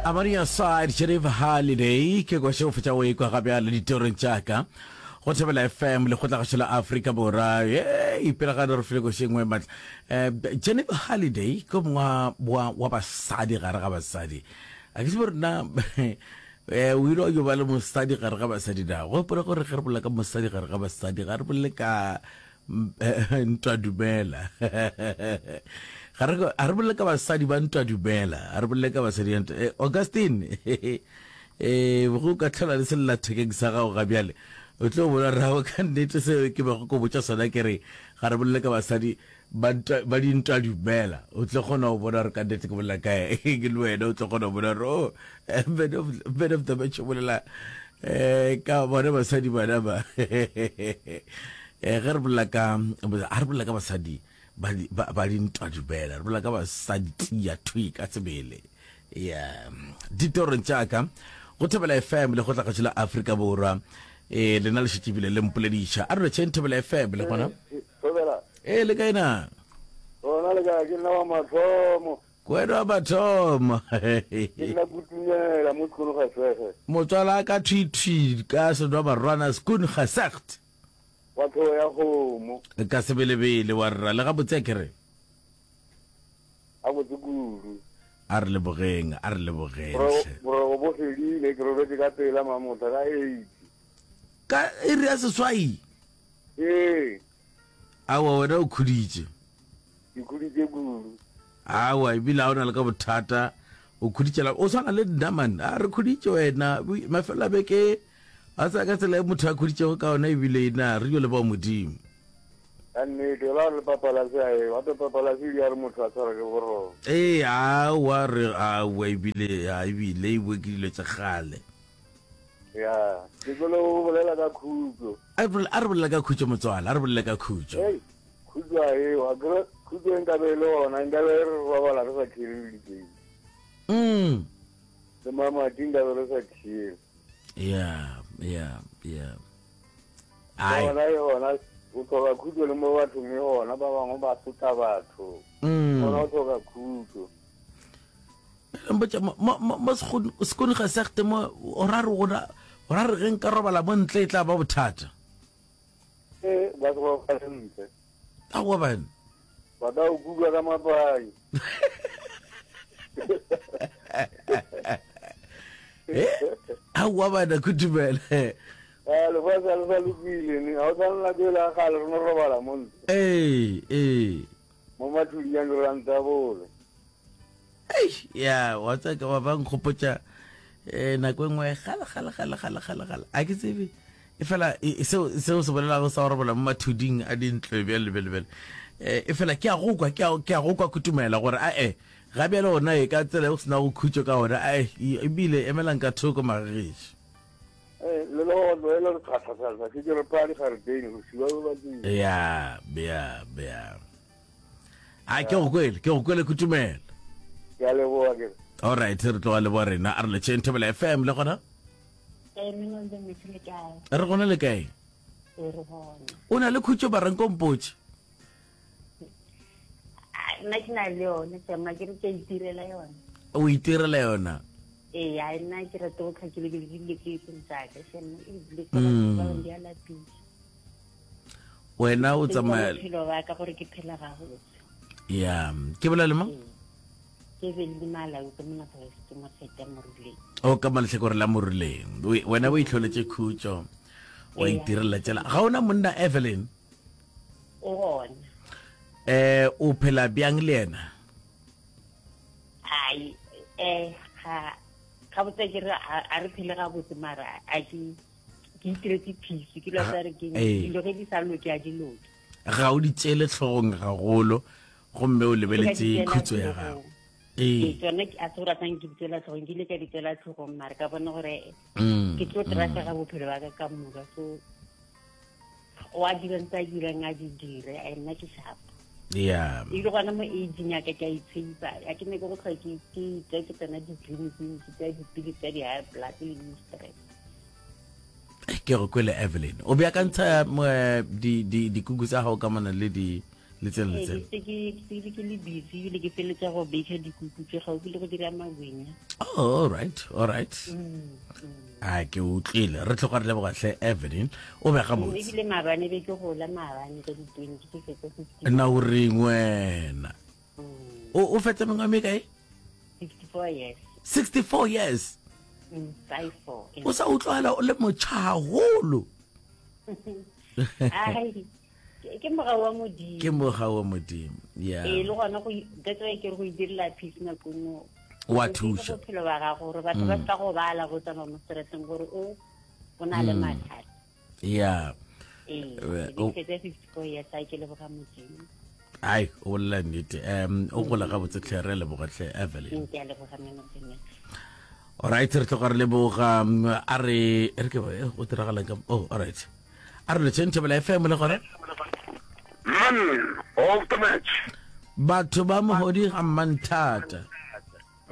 Amaria side Sheriff Holiday ke kwa šeo fetša o ekwa ga bjale ditorong tša ka go Thobela FM lekgotlagašo la Afrika Borwa ye ipelagane re file koši e nngwe matla eh, Jennifer Holiday ke mongwe wa, wa basadi gare ga basadi a ke tsebe gore na eh, o ile wa yo ba le mosadi gare ga basadi na gopola gore ge re bolela ka mosadi gare ga basadi ga re bolele ka ntwa dumela ga re ga re bolele ka basadi ba ntwa dumela ga re bolele ka basadi ba ntwa eh, Augustine eh go ka tlhola le sellathekeng sa gago ga bjale o tlo bona rago ka nnete seo ke bego ko botša sona ke re ga re bolele ka basadi ba ntwa ba dintwa dumela o tlo kgona go bona gore ka nnete ke bolela kae ke le wena o tlo kgona go bona gore oh eh, man of, man of the match o bolela um ka bona basadi bana ba eh ge re bolela ka a re bolela ka basadi ba ba dintwa dumela re bolela ka basadi tia thwi ka sebele ya ditorong tša ka go thobela fm le go tla la Afrika Borwa eh lena le šetše bile le mpolediša a re tšheng thobela fm le gona thobela eh le kae na gona le kae ke nna wa mathomo Kwena wa mathomo ke nna kutumela mo sekolo ga sege motswala ka thwi thwi ka senwa barwana skoon gesegt wa tlhogo ya kgomo ka sebelebele wa rra le gabotse a kere a botse kudu a re lebogeng a re lebogeng hle. Boroko bo fedile ke robetše ka pela mamotha ka eight ka iri ya seswai ee awa wena o khuditše ke khuditše kudu awa ebile ga o na le ka bothata o khuditšela o swana le nna man a re khuditše wena mafelo a beke a sa ka tsela e motho a khuditšego ka ona ebile na re yo leboga modimo ka nnete ba re papalase a e gape papalase di a re motho a tshwara ke boroko ee awa re awa ebile a ebile e bue ke dilo tša kgale ya ke kwele o bolela ka khutso a re bolela ka khutso motswala a re bolele ka khutso khutso a eo akere khutso e nkabe e le gona nkabe re robala re sa khele dikei mm le mamati nkabe re sa khele ya ya ya gona e gona o tlhoka khutso le mo bathong e gona ba bangwe ba sotla batho mm. gona o tlhoka khutso mpotša mo sekone ga segte mo o ra re gona o ra re ge nka robala mo ntle e tla ba bothata ee ba se ba ntle aowa bane ba ka o kuka ka mapai eh aowa bana kutumele eh lefatshe le sa lokile ne ga o tshwane nako ele ya kgale re no robala mo ntle ee ee mo mathudi ya diranta bole ya wa tsaka wa ba nkgopotša um nako e nngwe gale gale gale gale gale gale a ke tsebe e fela e, seo seo se bolelago sa go robola mo mathuding a dintlo bjale bjale bjale eh, e fela ke a go kwa ke a go kwa kutumela gore ae ga bjale ona e ka tsela e go sena go khutšo ka ona ae ebile emelang ka thoko magagešo eh, le le le re tlhatlhatlhatlha ke re phadi gareteng go siwa ba ya ya ya a ke go kwele ke go kwele kutumela ke a leboa ke all right re tloga le bo rena a re letšeng thobela fm le gona re gona le kae o na le khutšo baranko mpotše nna ke na le yone sema ke re ke itirela yone o itirela yona ee a nna ke rate go tlhakile ke dilo ke seng tsaka sema ebile ke ba di a lapisa wena o tsamaya bophelo ba ka gore ke phela gabotse ya ke bolela le mang ke be le malau ke mona ke mofeta moruleng o ka malehlakore la moruleng wena o itlholetše khutšo wa itirela tsela ga ona monna evelyn o gona eh o phela bjang le yena ai eh ga ga botse ke re a re phele ga botse mara a ke ke itiretse peace ke lo tsa re ke dilo ge di sa loke a di loke ga o di tšele tlhogong gagolo gomme o lebeletse khutso ya gago ee tsone a se gore a ke di tsela tlhogong ke ile ka di tsela tlhogong mare ka bona gore mm, ke tlo trasega mm. bophelo ba ka ka moka so wa dira ntse a dirang a di dire a nna ke sharp yeah ebile gona mo aging ya ka ke a itsheipa a ke ne ke go tlhoa ke ke ke tsena ditleliniking ke tsaya dipili tsa di-high blood le di-stress ke go kwele evelyn o beakantsha eh, dikuku tsa gago ka mona le di Le tsena le Ee, tsena. ke se ke ke ke le busy ebile ke feletša go baker dikuku tše gaufi le go dira magwenya. Oh, all right, all right. A ke utlwile. Re tloga re leboga hle Evelyn. O be gabotse. Ebile maabane be ke gola maabane ka di-20 ke fetsa 50. Nna o reng wena? O o fetsa mengwaga me kae? 64 years. 64 years. 54. O sa utlwala o le motjha haholo. Ai. Ke mogau wa Modimo. Ke mogau wa Modimo. Yeah. Ee, le gona go that's why ke re go idirela peace nako nngwe. Wa thuša. Bophelo ba gago gore batho ba mm. sa go bala go tsamaya mo strateng gore o o na le mm. mathata. Yeah. Ee, ke fetsa 54 years a ke leboga Modimo. Ai, o bolela nnete. Um o gola gabotse tlhe re leboga tlhe Evelyn. Ke a leboga man of the match. Alright, re tloga re leboga a re re ke go diragalang ka oh alright. A re letšeng Thobela FM le gona. Man of the match. Batho ba mohodi ga mmanthata.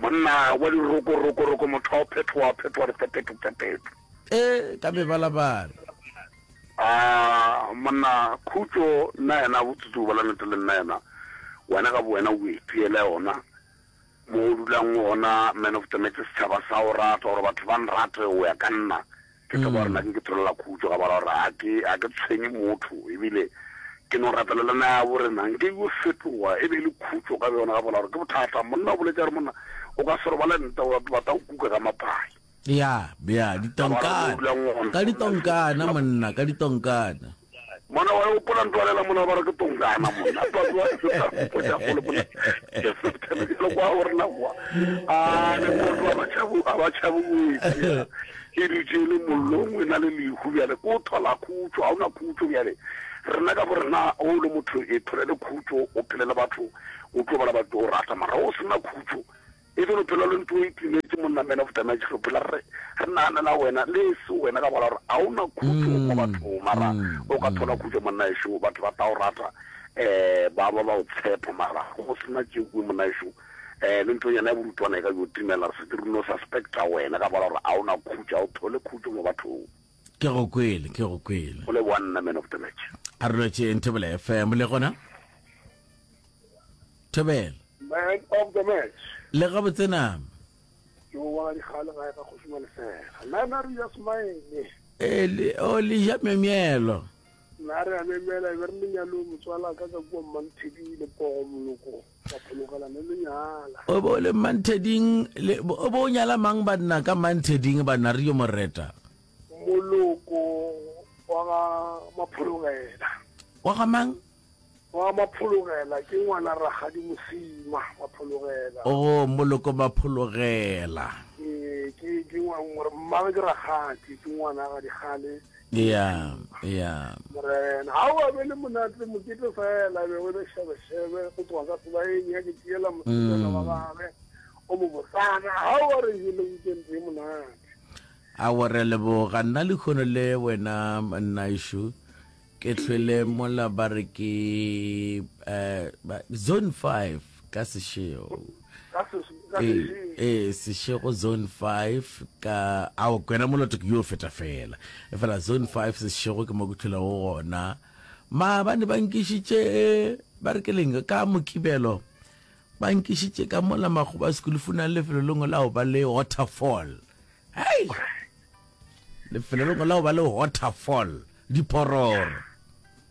Monna wa dirokorokoroko motho wa phethoa phethoa diphetetho phetetho. E ka mebalabala. A monna khutšo nna yena botsotsi ba nnete le nna yena wena ka bowena o itiele yona mo o dulang gona man of the match setšhaba sa o rata gore batho ba nrate o ya ka nna Ke tseba gore nna ke ke tholela khutšo ka baka la gore ga ke ga ke tshwenye motho ebile ke no rapelela naga ya borena nke yo fetoga e be e le khutšo ka bjona ka baka la gore ke bothata. Monna o boletše a re monna o ka se robale ntle wa ba tla o kuka ka mapai. Ya, ya, Ka baka la gore mo o ditonkana. dulang gona Ka ditonkana monna, ka ditonkana. Monna wa gopola ntwa lela monna ba re ke tonkana monna twa twa tsa gole monna ke se le kwa gore na kwa a le motho a ba tshabu a ba tshabu go e dutše le mollong e na le lehu bjale ko thola khutšo ga ona khutšo bjale rena ka borena o le motho e tholele khutšo o phele le batho o tlo bala batho o rata mara o sena khutšo E be bophelo le ntlo e timetše monna man of the match re phela re re naganela wena le e se wena ka baka la gore ga o na khutšo mo bathong mara o ka thola khutšo monna ešo batho ba tla o rata um ba ba ba o tshepa mara go sena tšekwe monna ešo um le ntlonyana ya borutwana e ka yo timela re setse re no suspecta wena ka baka la gore ga o na khutšo ga o thole khutšo mo bathong. Ke go kwele, ke go kwele. Go leboga nna man of the match. A re lotšeng Thobela FM le gona. Thobela. Man of the match. Le gabotse nama. Ke o wa dikgale gae ga kgoši Malefela. Nna na re ja smile. E le o le ja memelo. Nna re a memela e be re lenyalo motswala ka ka kua Mmantheding le Pogo Moloko ba phologela le lenyala. O bo le Mmantheding le o bo nyala mang banna ka Mmantheding banna re yo mo reta. Moloko wa ga Maphologela. Wa ga mang? Wa Maphologela ke ngwana Rakgadi Mosima Maphologela. Oh, Moloko Maphologela. Ee, ke ke ngwana mmagwe ke Rakgadi, ke ngwana ga Dikgale. Ya, ya. Morena, ha o be le monate mokete fela be o le shebe shebe go tloga ka sebaeng ya ke tšeela mosetsana wa gagwe o mo botsana ha o re jele weekend e monate. Aowa re a leboga nna lehono le wena nnaešo. Ke hlwele mola ba re ke eh, zone 5 ka sešego. Ee, ee, sešego zone 5 ka ao kwena moloto ke yo feta fela. E fela zone 5 sešego ke mo ke hlwelego gona. Maabane ba nkišitše ba re ke leng ka mokibelo ba nkišitše ka mola makgoba sekulufuna lefelo lengwe la go ba le waterfall. Hei! Lefelo lengwe la go ba le waterfall, diphororo.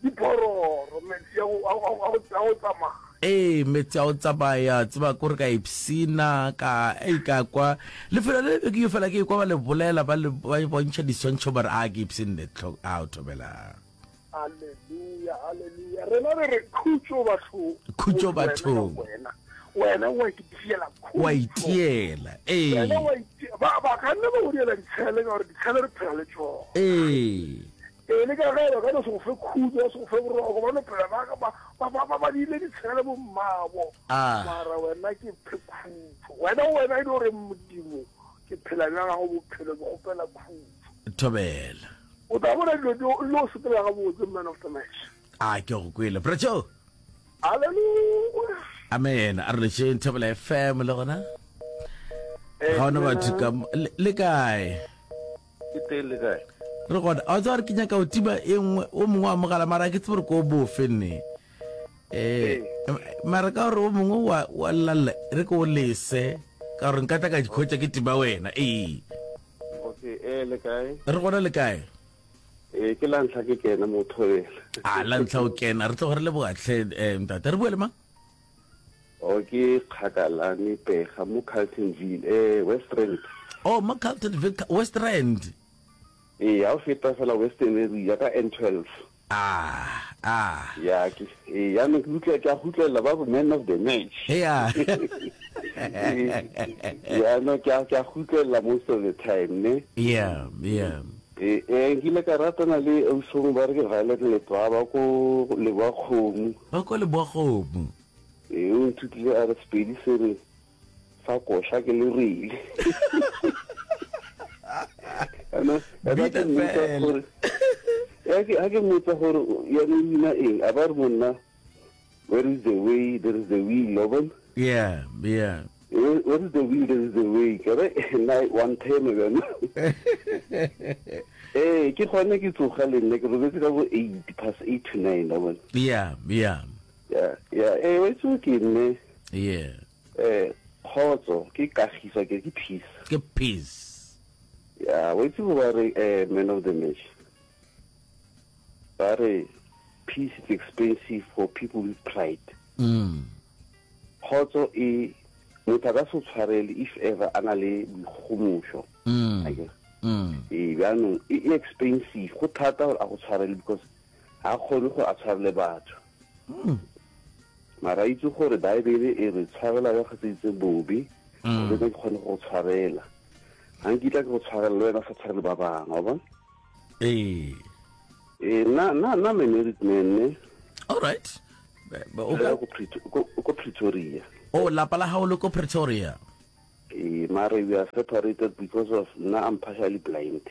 Diphororo, metsi a go tsamaya. Ee, metsi a go tsamaya, tseba kore ka ipsina, ka ei ka kwa. Lefelo le be ke yo fela ke kwa ba le bolela, ba le ba bontšha diswantšho ba re a ke ipshinne tlho a o thobela. Haleluya, haleluya. Rena re re khutšo bathong. Khutšo bathong. Wena, wena wa itiela khutšo. Wa itiela, ee. Wena wa itiela. Ba, ba ka nna ba go diela ditshele ka gore ditshele re phela le tšona. Ee. Ee, le ka ge ba ka no se go fe khutšo, ba se go fe boroko, ba no phela ba, ba, ba, ba, ba, ba diile ditshele bo mmabo. Ah. Mara wena ke phe khutšo. Wena, wena e no re Modimo, ke phela bja gago bophelo, ke kgopela khutšo. Thobela. O tla bona dilo di lo sepela gabotse man of the match. A ke go kwele. Bra Joe. Hallelujah. Amen. A re lešeng Thobela FM le gona. Ga ona batho ka le kae? Ke teng le kae? Re gona. A tswa re ke nyaka o tima e nngwe o mongwe wa mogala mara ke tsebe gore ko bofe nne. Eh, mara ka gore o mongwe wa wa llalla re ke o lese ka gore nka tla ka dikhotša ke tima wena ee Okay, eh le kae? Re gona le kae? Eh ke la ntlha ke kena mo thobela. A la ntlha o kena re tloga re leboga tlhe eh ntate re bua le mang? O ke Kgakalane Pega mo Carltonville eh West Rand. Oh mo Carltonville West Rand. Ee, ha o feta fela Western area ka N12. Ah, ah. Ya ke ee ya no ke utlwa ke a gutlela ba man of the match. Yeah. Ya no ke a ke a gutlela most of the time ne. Yeah, yeah. Eh eh nkile ka ratana le ausong ba re ke Violet Letwaba ko Leboa-Kgomo. Ba ko Leboa-Kgomo. Ee o nthutile a re Sepedi se re Sa koša ke le rile. Ana ana ke mmotsa gore ya ke ha ke mmotsa gore ya no wina eng a ba re monna where is the way there is the will wa bona yeah yeah where, where is the will there is the way ke re nna one time bjana ee ke gone ke tsoga le nna ke robetse ka bo 8 past 8 to 9 wa bona yeah yeah yeah yeah eh wa itse ke nne yeah Eh, kgotso ke kagiso ke ke peace. Ke peace. Ya, wa itse go ba re eh man of the match. Ba re peace is expensive for people with pride. Mm. Kgotso e motho a ka se tshwarele if ever a na le boikgomošo. Mm. Akere? Mm. Ee, bjaanong e e expensive go thata gore a go tshwarele because ga a kgone gore a tshwarele batho. Mm. Mara a itse gore Baebele e re tshwarela ba gatseditse bobe, mm. gore ke kgone go tshwarela. Ga nkitla ke go tshwarela le wena sa tshwarele ba bangwe, wa bona? Ee. Ee, nna nna nna I'm a married man ne. All right. O ka ko Pretoria. Oh, lapa la gago le ko Pretoria. Ee, mara we are separated because of nna I'm partially blind.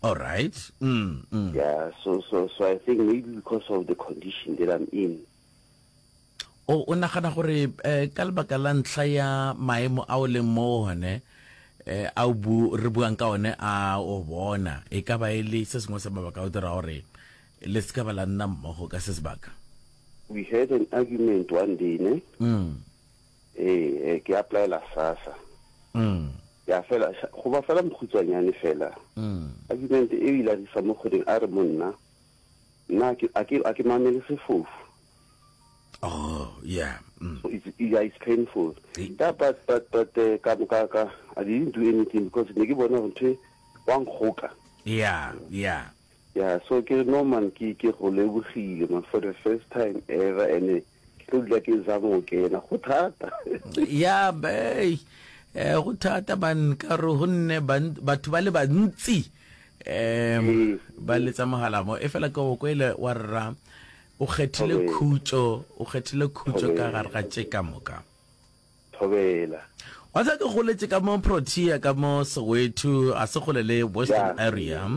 All right. Mm, mm. Yeah, so so so I think maybe because of the condition that I'm in. O o nagana gore eh, ka lebaka la ntlha ya maemo a o leng mo one eh, a o bu re buang ka one a o bona e ka ba e le se sengwe sa mabaka a o dira gore le se ka ba la nna mmogo ka se sebaka? We had an argument one day ne. Mm. Eh, eh ke applyela SASSA. Mm. Ya fela go ba fela mokhutswanyane fela. Mm. Argument e ile a disa mo kgoding a re monna nna a ke a ke mamele sefofu. Oh, yeah. Mm. So it's, yeah, it's painful. Yeah, but, but, but, uh, ka, ka, ka, I didn't do anything because ne ke bona gore ntho wa nkgoka. Yeah, yeah. Yeah, so ke no man ke ke go lebogile man for the first time ever and ke tlo dula ke zama go kena go thata. Yeah, bay. Eh go thata man ka re go nne batho ba le bantsi um ba letsa mogala mo e fela ke go kwele wa rra O kgethile khutšo, o kgethile khutšo ka gare ga tše ka moka. Thobela. Wa tseba ke goletše ka mo Protea ka mo Soweto, a se kgole le Western area.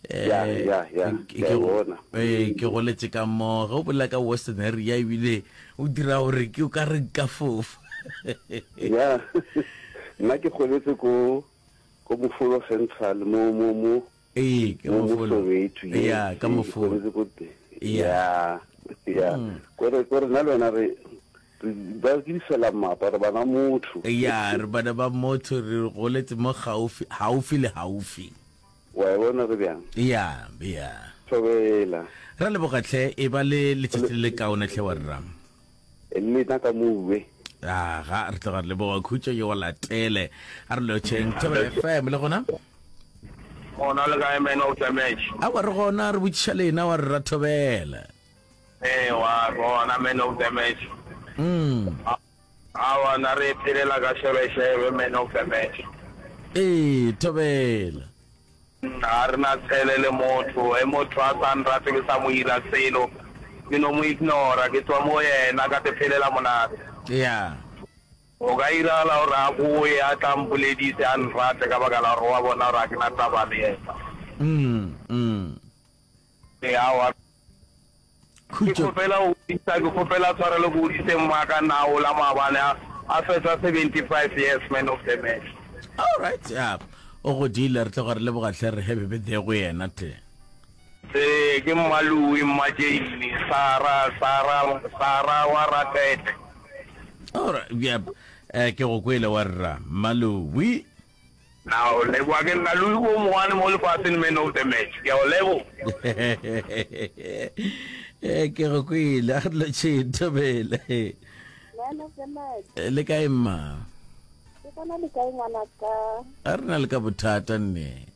Ya, ya, ya, ke a bona. Ee, ke goletše ka mo, ge o bolela ka Western area ebile o dira gore ke o ka re nka fofa. Ya, nna ke goletse ko ko Mofolo Central mo mo mo Ee, ka Mo mofolo. Soweto, yes. Ya, ka Ee, ke mofolo. goletse ko teng. Ya. Ya, ya. Mm. Kore kore nna le wena re re ba ke disela mmapa re bana motho. Ya, re bana ba motho re goletse mo gaufi, haufi le haufi. Wa e bona re bjang? Ya, ya. Thobela. Ra leboga tlhe, e ba le letšatši le le kaone tlhe wa rra. Le nna ka mowe. Aga, re tloga re leboga khutšo ye o latele. A re lotšheng Thobela FM le gona? Gona le kae man of the match? Awa re gona re botšiša lena wa re ra thobela. Ee wa gona man of the match. Mm. Awa na re phelela ka shebeshebe man of the match. Ee thobela. Ga re na tshele le motho. Ge motho a sa nrate ke sa mo ira selo, ke no mo ignora, ke tswa mo yena ka te phelela monate. Yeah. Go ka iragala gore a boye a tla mpoledise a nrate ka baka la gore wa bona gore ga ke na taba le yena. Mm, mm. Ee, aowa. Ke Khutšo. kgopela go godisa, ke kgopela tshwarelo ke godise mmaka nao la maabane a a fetsa 75 years man of the match. All right, yeah. O godile re tloga re leboga hle re happy birthday go yena hle. Ee, ke Mma Louie, Mma Jane, Sarah, Sarah, Sarah wa Ratete. Alright, yep. Eh, ke go kwele wa rra, Mma Louie. Na o leboga ke nna Louie o mongwane mo lefaseng man of the match. Ke a o leboga. Eh, ke go kwele, a re lotšheng thobele. Man of the match. Eh, Le kae mma? Ke gona le kae ngwanaka? A re na le ka bothata nne.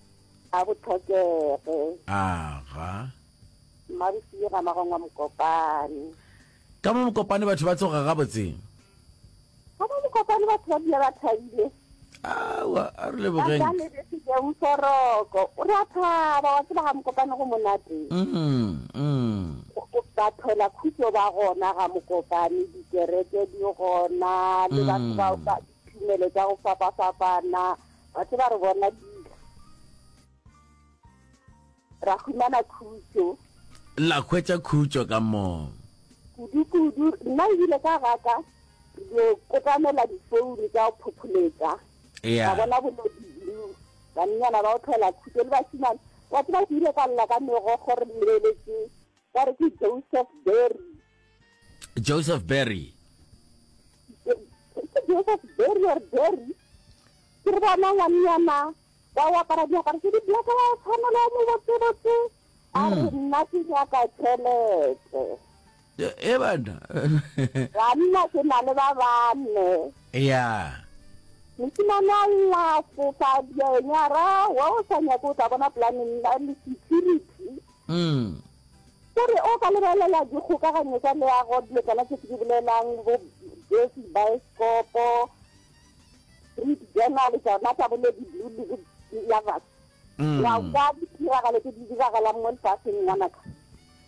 A bo tlhokege. Aga. Mmabosie ga magongwa Mokopane. Ka mo Mokopane batho ba tsoga gabotse? Ka mo Mokopane batho ba dula ba thabile. Awa, a re lebogeng. Ba lebetse Mforoko. O re a thaba, wa tseba ga Mokopane go monate. Mm, mm. Ba thola khutso ba gona ga Mokopane, dikereke di gona, le batho ba ba ditumelo tša go fapafapana. Wa tseba re bona dilo. Ra humana khutšo. La hwetša khutšo ka moo. Kudu-kudu, nna ebile ka gaka re dio kotamela difounu tša go phopholetša. Yeah. Ra bona boledi blue. Bannyana ba go tlhola khutšo le bašemane. Wa tseba ke ile ka lla ka megokgo re lebeletše ba re ke Joseph Berry. Joseph Berry. Ke Joseph Berry or Berry. Ke re bona ngwannyana wa o apara diaparo tse di black wa o tshwanela o mo botsebotse a re mm. nna ke nyaka tšhelete. E bana. Banna ke na le ba bane. Ya. Mosimane a lla fofa dianyara wa o sa nyake o tla bona planeng le security. Mm. Gore o ka lebelela dikgokaganyo tša leago, dilo tsona tše ke di bolelang, bo Jersey Baeskopo, Street Journal, tšona tša bo Lady Blue le bo Lovers. Mm. Wa kwa ditiragalo tše di diragalang mo lefaseng, ngwanaka.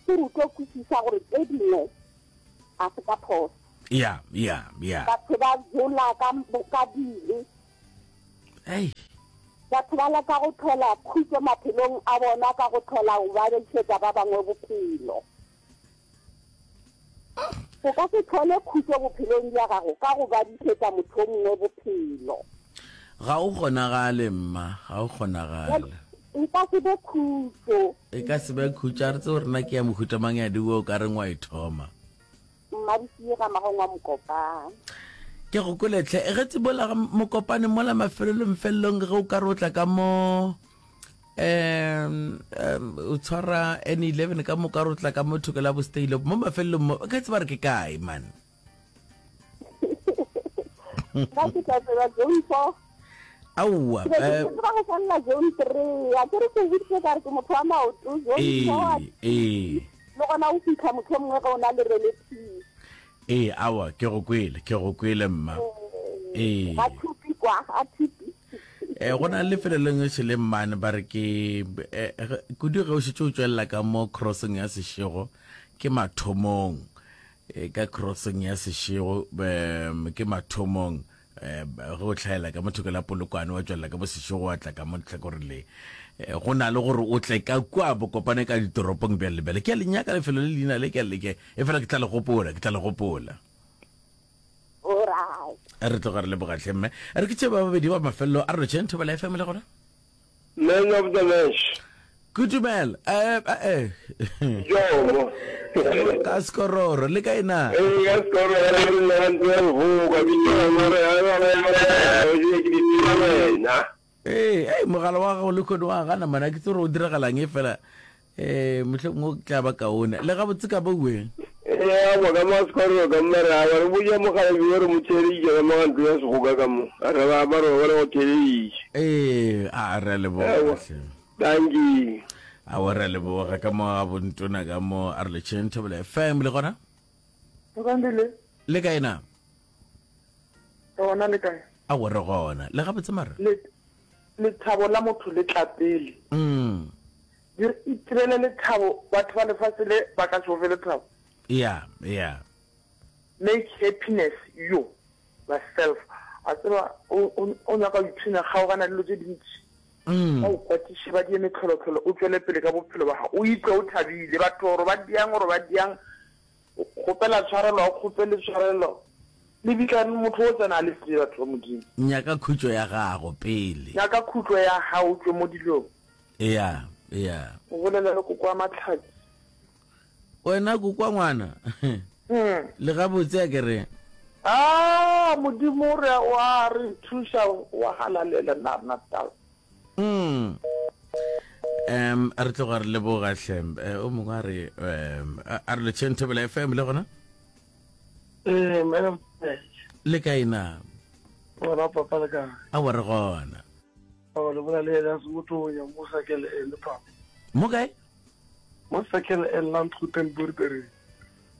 Ke re o tlo kwešiša gore tše dingwe ga se ka phoso. Ya, ya, ya. Batho ba jola ka, ka dibe. Ei. Batho ba leka go hlola khutšo maphelong a bona ka go hlola go babišetša ba bangwe bophelo. O ka se hlole khutšo bophelong bja gago ka go babišetša motho o mongwe bophelo. Ga o kgonagale, mma, ga o kgonagale. E ka se be khutšo. E ka se be khutšo. A re tsebe gore na ke ya mohuta mang ya diwe o ka reng wa e thoma. Mmadisiye ga magong wa Mokopane. Ke go kwele tlhe. Ge tsebola ga Mokopane mola mafelelong felelong ge o ka re o tla ka mo um um o tshwara N11 ka mo ka re o tla ka mo thoko la bo Steyloop mo mafelelong mo ka tseba re ke kae man. Nna ke tla tseba zone 4. Aowa. Ke be ke tseba go felela zone 3. A ke re ke boditse ka re ke motho wa maoto zone 4. Ee, ee. Le gona o fitlha motho o mongwe ge o na le relative. Ee, aowa, ke go kwele, ke go kwele mma. Ee. Ga thupi kwa, ga thupi. Eh, go na le lefelo lengwe šele mmane ba re ke eh, kudu ge o šetše o tšwelela ka mo crossing ya Seshego ke mathomong eh, ka crossing ya Seshego um ke mathomong eh, ge o hlaela ka mo thoko la Polokwane wa tšwelela ka bo Seshego wa tla ka mo tlhakoreng le eh, go na le gore o tle ka kua bokopane ka ditoropong bjale le bjale ke a le nyaka lefelo le leina le ke a le ke e fela ke tla le gopola ke tla le gopola re tloga re leboga tlhe mme re ke tše ba babedi ba mafelelo a re lotšheng thobela fm le gona Man of the match. Kutumela. Eh eh. Jomo. Ka skororo le kae na? Eh ka skororo re nna ntse re boka ke tšona re re ke di tseba wena. Eh, eh mogala wa gago le khone wa gana mana ke tsore o diragalang e fela eh mohlomongwe o tla ba kaone. Le gabotse ka ba ueng? Ee, aowa, ka mo a Sekororo ka mo ba re, aowa, re botša mokgalabje yo re mo theeleditše ka mo ga ntlo ya segoka ka mo. A re ba ba re ba re go theeleditše. Ee, a re a leboga Aowa, hle. dankie. Aowa, re a leboga ka mo ga bontona ka mo a re letšheng Thobela FM le gona? Tokandile. Le kae na? Re gona le kae? Aowa, re gona. Le gabotse mara? Le, lethabo la motho le tla pele. Mm. Itirele lethabo, batho ba lefase le ba ka se go fe lethabo. Yeah, yeah. Make happiness you yourself. A tseba o, o, o nyaka go ipshina, kgaogana le dilo tše dintši. Mm. Ba o kwatiše, ba die mehlolohlolo, o tšwele pele ka bophelo ba gago. O ikwe o thabile. Batho gore ba diang gore ba diang, o kgopela tshwarelo, ga o kgopele tshwarelo. Lebitla motho o tsena a le tee, batho ba Modimo. Nyaka khutšo ya gago pele. Nyaka khutšo ya gago, o tšwe mo dilong. Eya. Yeah. O bolela le koko wa Mahlatsi. Wena kokwa ngwana. Hmm. Le gabotse a ke re. Ah, Modimo re wa re thuša wa halalela nna rena taba. Mm. Um, re tloga re leboga hle. Eh, o mongwe a re um, a re letšheng Thobela FM le gona? Eh, madam. Le kae na? Gona papa le kae? A wa re gona. Awa le bola le ena se motho ya mo sakele ene papa. Mo kae? Mo Circle N Landgoeden Boerdery.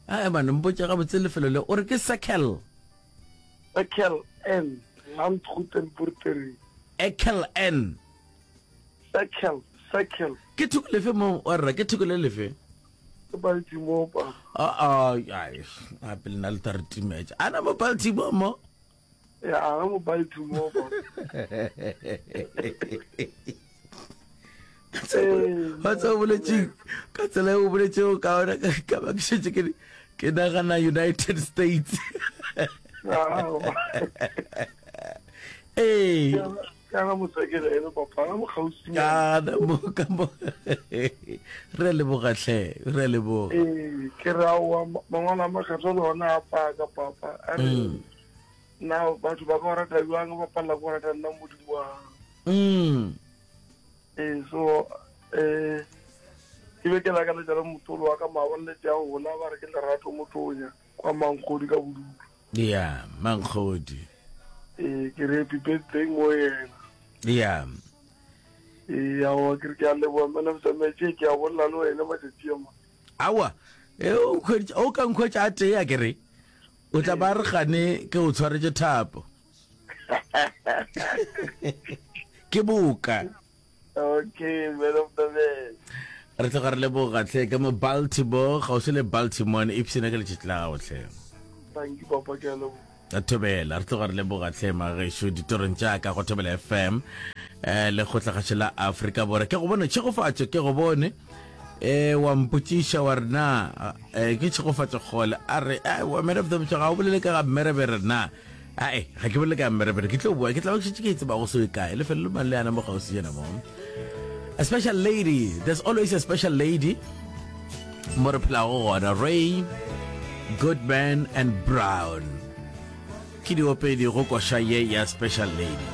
A man mpotše gabotse lefelo le o re ke Circle. Circle N Landgoeden Boerdery. Circle N. Circle, Circle. Ke thoko lefe mo wa rra ke thoko le lefe? Ke Baltimore pa. Ah ah ai gape le na le tla re timetša. Ana mo Baltimore mo? Ya ana mo Baltimore pa. Wa tseba o boletše ka tsela e o boletšego ka ona ka ba ke šetše ke ke nagana United States. Ee. Kana motsekele ene papa ana mo kgauswi. Kana mo ka mo. Re leboga hle, re leboga. Ee, ke ra wa mangwalo a makgethwa le ona a paka papa. A re mm. na batho ba ka go rata bjang ba palela go rata nna modimo wa mm. Ee, so eh ke be ke lakaletša le motolo wa ka maabane le tša gola ba re ke lerato motonya kwa mankgodi ka bodulo. Ya, mankgodi. Ee, ke re happy birthday mo yena. Ya. Ee, aowa ke re ke a leboga man of the match ke a bolela le wena matšatši a ma. Aowa, e o nkhweditše, o ka nkhwetša a tee a ke re. O tla ba re gane ke o tshwaretše thapo. Ke boka. Okay, man of the match. Re tloga re leboga tlhe ka mo Baltimore, kgauswi le Baltimore, ipshina ka letšatši la gago tlhe. Thank you papa, ke a leboga. A thobela, re tloga re leboga tlhe magešo ditorong tša ka go Thobela FM eh le kgotlagašo la Afrika Borwa. Ke go bone tšhegofatšo, ke go bone eh wa mpotšiša wa re na eh ke tšhegofatšo kgole a re eh wa man of the match ga o bolele ka ga mmerebere na. Ae, ga ke bolele ka mmerebere, ke tlo boa, ke tla ba ke šetše ke e tseba go se kae. Lefelo le mang le yana mo kgauswi jana mo. A special lady, there's always a special lady mo re phelago gona. Ray, Goodman and Brown. Ke diopedi go koša ye ya special lady.